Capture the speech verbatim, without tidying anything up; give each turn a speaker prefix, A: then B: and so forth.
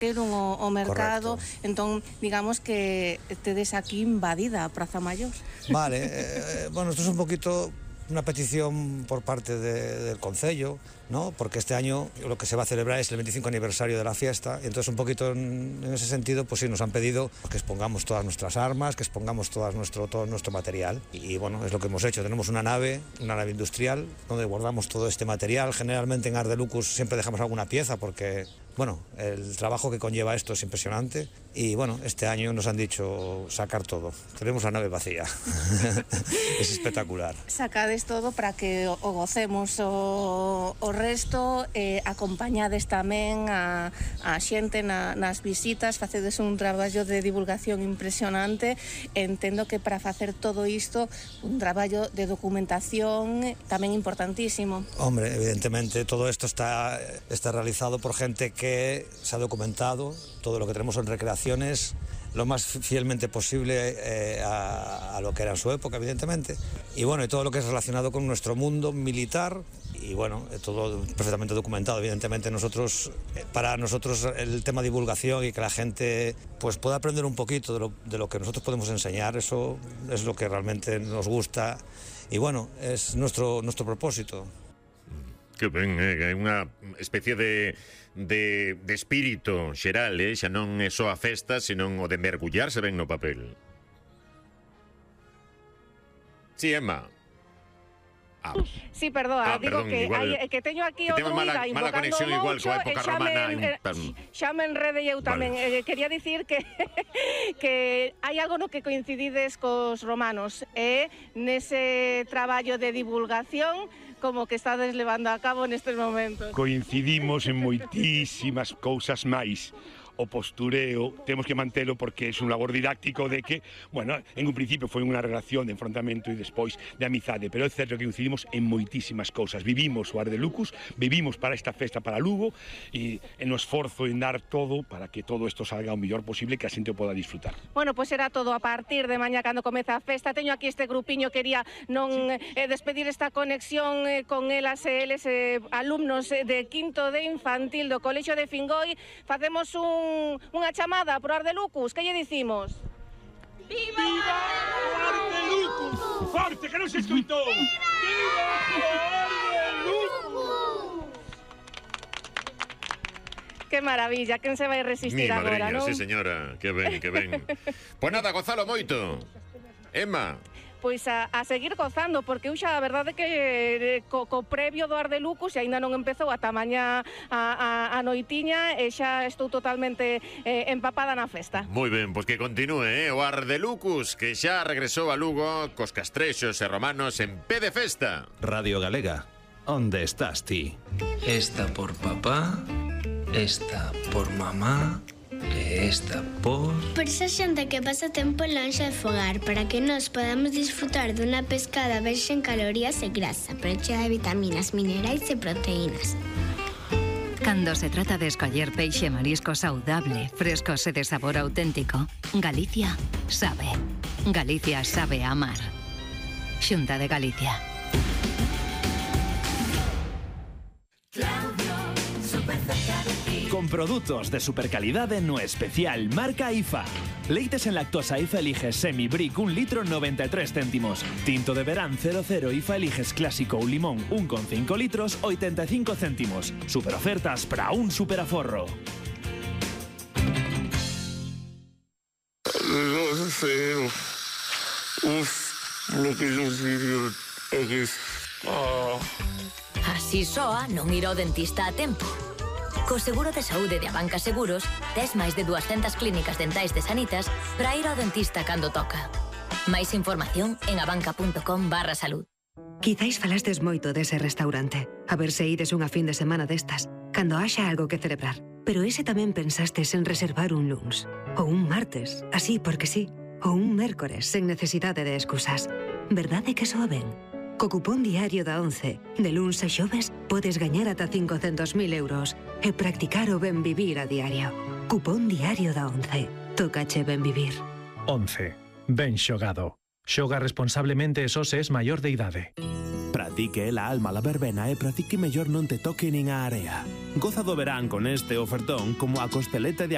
A: o, o mercado. Correcto. Entón, digamos que tedes aquí invadida a Praza Maior.
B: Vale, eh, bueno, esto es un poquito una petición por parte de, del Concello, ¿no? Porque este año lo que se va a celebrar es el veinticinco aniversario de la fiesta, y entonces un poquito en, en ese sentido, pues sí, nos han pedido que expongamos todas nuestras armas, que expongamos todas nuestro, todo nuestro material, y, y bueno, es lo que hemos hecho. Tenemos una nave, una nave industrial, donde guardamos todo este material. Generalmente en Art de Lucus siempre dejamos alguna pieza, porque, bueno, el trabajo que conlleva esto es impresionante, y bueno, este año nos han dicho sacar todo. Tenemos la nave vacía. Es espectacular.
A: Sacades todo para que o, o gocemos o, o resto, eh, acompañades tamén a, a xente na, nas visitas, facedes un traballo de divulgación impresionante. Entendo que para facer todo isto, un traballo de documentación tamén importantísimo.
B: Hombre, evidentemente todo esto está, está realizado por gente que se ha documentado todo lo que tenemos en recreaciones lo más fielmente posible eh, a, a lo que era en su época, evidentemente, y bueno, y todo lo que es relacionado con nuestro mundo militar, y bueno, todo perfectamente documentado. Evidentemente nosotros, para nosotros el tema de divulgación y que la gente pues pueda aprender un poquito de lo, de lo que nosotros podemos enseñar, eso es lo que realmente nos gusta, y bueno, es nuestro, nuestro propósito.
C: Que ben, é eh, unha especie de, de, de espírito xeral, eh? Xa non é só a festa, senón o de mergullarse ben no papel. Sí, Emma.
A: Ah. Sí, perdoa, ah, digo perdón, que, igual, hai, que teño aquí
C: que
A: o druida invocando mucho,
C: e xa me,
A: xa me enrede eu tamén. Vale. Eh, quería dicir que que hai algo no que coincidides cos romanos, e eh, nese traballo de divulgación como que estades levando a cabo nestes momentos.
D: Coincidimos en moitísimas cousas máis. O postureo temos que mantelo porque é un labor didáctico de que, bueno, en un principio foi unha relación de enfrontamento e despois de amizade, pero é certo que coincidimos en moitísimas cousas. Vivimos o Art de Lucus, vivimos para esta festa para Lugo, e en o esforzo en dar todo para que todo isto salga o mellor posible, que a xente o poda disfrutar.
A: Bueno, pois será todo a partir de mañá cando comeza a festa. Teño aquí este grupiño, quería non sí. eh, despedir esta conexión eh, con elas e eles, eh, alumnos de quinto de infantil do Colexio de Fingoi. Facemos un unha chamada por Art de Lucus. Que lle dicimos?
D: Viva, Viva Art de Lucus! Forte, que non se escoitou! Viva Art de Lucus!
A: Que maravilla, quen se vai resistir
C: Mi
A: agora,
C: madriña,
A: non?
C: Sí, señora, que ben, que ben. Pois nada, gozalo moito. Emma.
A: Pois a, a seguir gozando, porque eu xa a verdade que eh, co, co previo do Art de Lucus e aínda non empezou ata mañá a, a, a noitiña, e xa estou totalmente eh, empapada na festa.
C: Moi ben, pois que continúe, eh, o Art de Lucus, que xa regresou a Lugo cos castrexos e romanos en pé de festa.
E: Radio Galega, onde estás ti?
F: Esta por papá, esta por mamá, e esta por...
G: Por esa xente que pasa tempo lonxe de fogar, para que nos podamos disfrutar dunha pescada baixa en calorías e grasa, pero chea de vitaminas, minerais e proteínas.
H: Cando se trata de escoller peixe e marisco saudable, frescos e de sabor auténtico, Galicia sabe. Galicia sabe amar. Xunta de Galicia.
I: Con produtos de supercalidade no especial marca I F A. Leites en lactosa I F A eliges Semi Brick un litro noventa e tres céntimos. Tinto de verán cero cero I F A eliges clásico ou limón un con cinco litros oitenta e cinco céntimos. Super ofertas para un super aforro.
J: No sé. Uf, lo que yo sigo es... Oh.
K: Así soa non ir ao dentista a tempo. Co seguro de saúde de Abanca Seguros, tes máis de dúascentas clínicas dentais de Sanitas para ir ao dentista cando toca. Máis información en abanca.com barra salud.
L: Quizáis falastes moito dese restaurante. A ver se ides unha fin de semana destas, cando haxa algo que celebrar. Pero ese tamén pensastes en reservar un luns. Ou un martes, así porque sí. Ou un mércores, sen necesidade de excusas. Verdade que soa ben? Co cupón diario da once, de luns a xoves, podes gañar ata cincocentos mil euros e practicar o ben vivir a diario. Cupón diario da once. Tócache ben vivir.
M: once. Ben xogado. Xoga responsablemente e só se es maior de idade.
N: Pratique la alma la verbena e pratique mellor non te toque nin a area. Goza do verán con este ofertón como a costeleta de